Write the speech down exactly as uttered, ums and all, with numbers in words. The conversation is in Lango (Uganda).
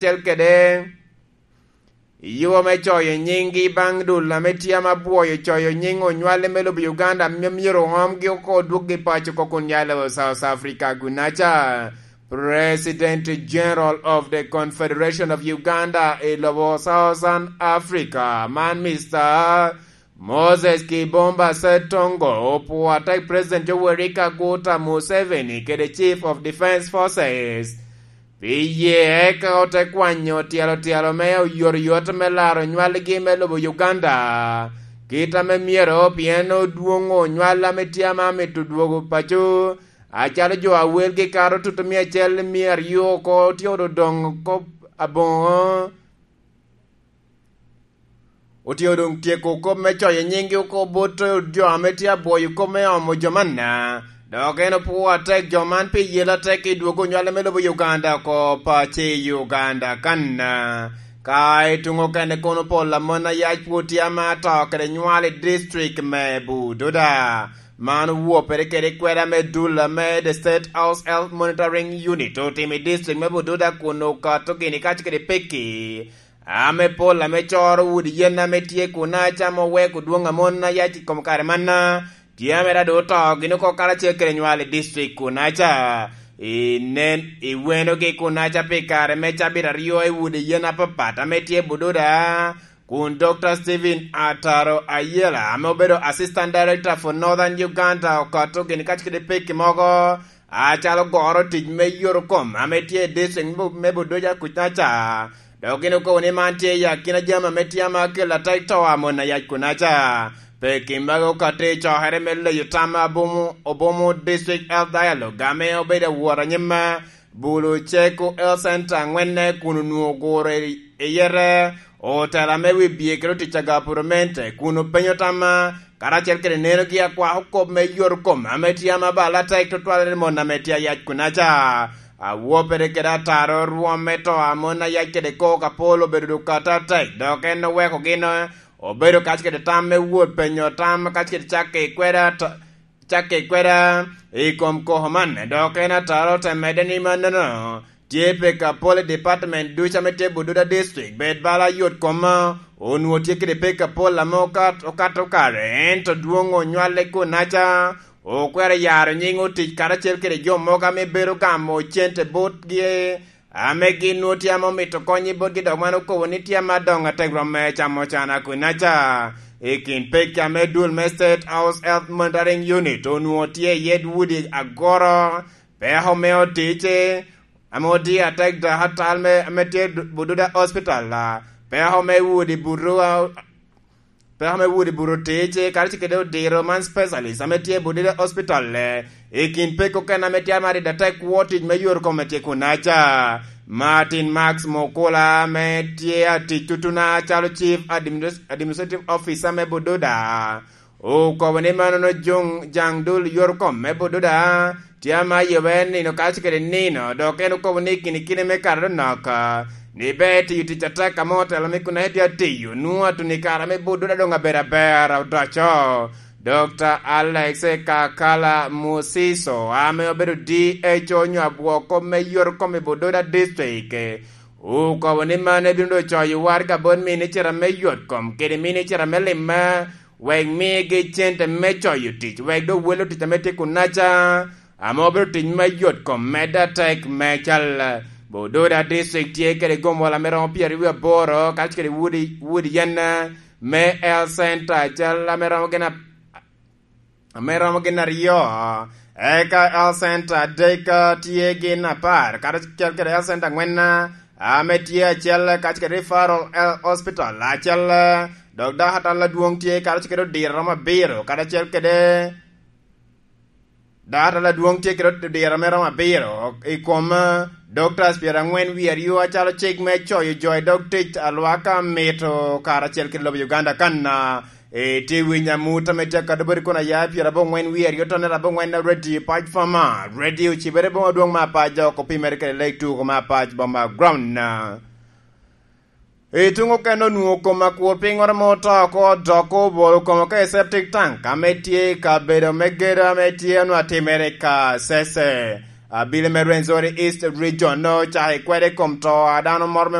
kacel kede i yo me coyo nyinggi baŋ dul ame tye ama bwoyo coyo nying onywale me lobo Uganda, ame myero oomgi oko odwoggi paco oko kun ya i lobo South Africa. Gunaca, President General of the Confederation of Uganda i lobo Southern Africa, man Mister Moses Kibomba Setongo, opwo atek President Yoweri Kaguta Museveni kede Chief of Defence Forces pi ye eka ote kwanyo tyelo tyelo me oyotoyot me laro nywalgi me lobo Uganda, kit ame myero, pien odwoŋo nywal ame tye ama mito dwogo paco, acalo jo a welgi kato tutumia acel mia aryo oko tye odoŋ kop aboŋo. Otye doŋ tyeko kop me coyo nyinggi oko bot jo ame tye abwoyo kop me omo jo manna. Dok en opwoo atek jo man pi yel atek i dwogo nywale me lobo Uganda oko paco i Uganda kanna. Ka i tuŋ okene kono pol amon ayac pwod tye ama to kede nywal i district me Bududa. Man owopere kede kweda me dul ame The State House Health Monitoring Unit otimo i district me Bududa kun okato gini kaco kede peki ame pol ame coro wudi yen ame tye kun acamo weko dwoŋ amon ayac i kom kare manna, tye ame rado oto gin oko karacel kede nywal i district kun aca. Inen iwenogi kun aca pi kare me cabit aryo i wudi yen apapat ame tye Bududa, kun Doctor Stephen Ataro Ayela ame obedo Assistant Director for Northern Uganda okato gini kaco kede peki mogo, acalo goro tic me yot kom ame tye i district me Bu-, me Bududa kuc aca. Dok gin okobo ni man tye i akina jami ame tye ama kelo atek to amon ayac kun aca. Peki magi okato i cokere me leyo tam abomo, Obomo District Health Dialogue ame obedo awot anyim Bulu Ceko Health Center aŋwenne kun onwoŋo oguro i, i yete otela me wi bye kede otic a gapuramente kun openyo tamma karacel kede nenogi akwako kop me yot kom ame tye ama bal atek tutwal i mon ame tye ayac kunaca. Awopere kede ataro rwom me to a mon ayac kede kok apol obedo dukata atek, dok en oweko gin obedo kac kede tam me wot penyo tam kac kede cakke i kweda ta-, cakke i kweda i kom koko man, dok en ataro te medde ni mannono tye peko apol i department ducu ame tye Bududa District, bed bala yot kom onwoŋo tye kede peko apol ame okat-, okato kare, ento dwoŋ onywale kunaca, okwero yaro nyiŋ otic karacel kede jo mogo ame bedo gamo cente botgi, ame gin nwoŋo tye ame omito kony i botgi, dok man okobo ni tye ame adoŋo atek rom me camo can akunaca. I kin pekki ame dul me State House Health Monitoring Unit onwoŋo tye i yet udi agoro, peko me otic, ame odiyo atek dok atal me, ame tye Bududa Hospital, a, peko me udi buto, a, peko me udi buto tic, kadi ci kede odiro man specialist ame tye Bududa Hospital, e, i kin peko okene ame tye amarido atek kwo tic me yot kome tye kunaca. Martin Max Mukula ame tye atic tutuna calo Chief Adminis-, Administrative Officer me Bududa, okobo ni manono joŋ jaŋ dul yot kom me Bududa tye ama yobbe nino kaco kede nino, dok en okobo ni kinikine me kato nok, ni ber tiyo tic atek ame otelo me kun en tye atiyo, nwoŋo atuni kare me Bududa doŋ abedo aber odoco. Doctor Alex Kakala Musiso, ame obedo D H O onyo abwoko me yot kom i Bududa District, okobo ni man ebino doŋ coyo waraga bot minicita me yot kom kede minicita me limma, wek migi cente me coyo tic, wek doŋ welo tic ame tye kunaca, ame obedo tic me yot kom medde atek me cal. Bududa District tye kede gombola me romo pyeraryo aboro, kacel kede wudi, wudi yen me Health Center, cal ame romo gin a-, ame romo gin aryo, eka Health Center adek tye gin apar, kacel kede Health Center angwen ame tye acel, kacel kede Referral Health Hospital acel, dok dakatal adwoŋ tye kacel kede odiro romo abiro, kacel kede dakatal adwoŋ tye kede odiro me romo abiro i kom, eh, doctors pyerangwen wie aryo acalo cik me coyo jo i dog tic alwaka mito karacel kede lobo Uganda kan, ah, itye winyo amut ame tye akado boti kun aya pyerabongwen wie aryo tonere abongwen na radio pac fama, radio cibere boma dwoŋ ma pac dok opimere kede leg tuko ma pac boma ground. I tuŋ okene onwoŋo kom akur piŋŋoro ma oto oko, dok obolo kom oko i septic tank ame tye i kabedo me gedo ame tye onwoŋo atimere i Kasese. Abili me Rwenzori East Region nongo ocako kwede i kom to a dano moro me